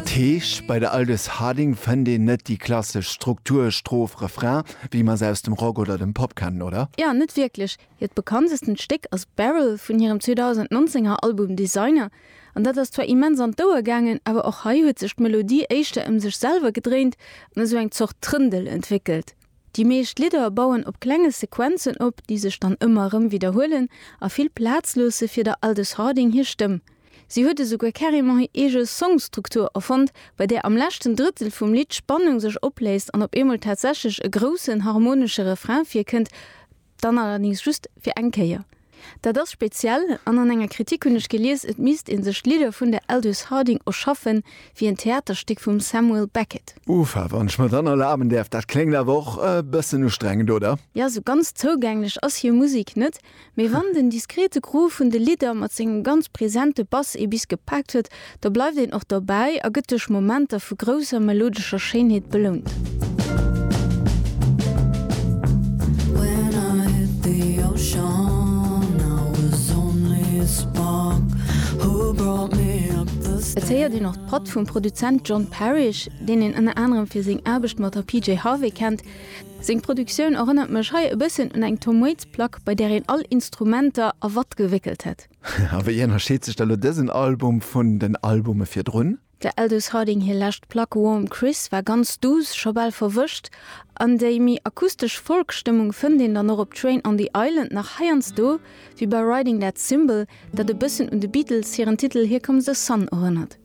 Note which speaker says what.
Speaker 1: Dat heescht, bei der Aldous Harding fënnt een net déi klassesch Struktur Stroph, Refrain, wéi mer se aus dem Rock oder dem Pop kennen, oder?
Speaker 2: Jo, net wierklech. Hiert bekanntestent Stéck ass Barrel vun hirem 2019 er Album Designer. An dat ass zwar immens an d'Ouer gaangen, awer och hei huet sech d'Melodie éischter ëm sech selwer gedréint an esou eng Zort Trëndel entwéckelt. Déi meescht Lidder bauen op klenge Sequenzen op, déi sech dann ëmmer erëm widderhuelen a vill Plaz loosse fir der Aldous Harding hir Stëmm. Si huet esouguer carrément hir eege Songstruktur erfonnt, bei där am leschten Drëttel vum Lidd d'Spannung sech opléist an op eemol tatsächlech e groussen harmonesche Refrain virkënnt, Dann allerdings just fir eng Kéier. Dat ass speziell, an an enger Kritik hunn ech gelies, et misst ee sech d'Lidder vun der Aldous Harding erschaffen, wéi en Theaterstéck vum Samuel Beckett.
Speaker 1: Ufa, wann ech mer dann erlaben däerf, dat kléngt awer och e bëssen ustrengend, oder?
Speaker 2: Jo, sou ganz zougänglech ass hir Musek net, Mee wann den diskrete Groove vun de Lidder mat sengem ganz presente Bass ee bis gepaakt huet, da bleift een och dobäi a gëtt duerch Momenter vu grousser melodescher Schéinheet belount. Et héiert een och d'Patt vum Produzent John Parish, deen een ënner anerem fir seng Aarbecht mat der PJ Harvey kennt. Seng Produktioun erënnert mech hei e bëssen un eng Tom Waits Plack, bei där een all Instrumenter a Watt gewéckelt hätt.
Speaker 1: A wéi ënnerscheet sech da lo dësen Album vun den Albume virdrun?
Speaker 2: Der Aldous Harding hir lescht Plack Warm Chris war ganz duuss, scho bal verwëscht, an déi méi akustesch Folk-Stëmmung fënnt een dann och op Train on the Island nach heiansdo, wéi bei Riding That Cymbal, dat e bëssen un de Beatles hiren Titel Here Comes the Sun erënnert.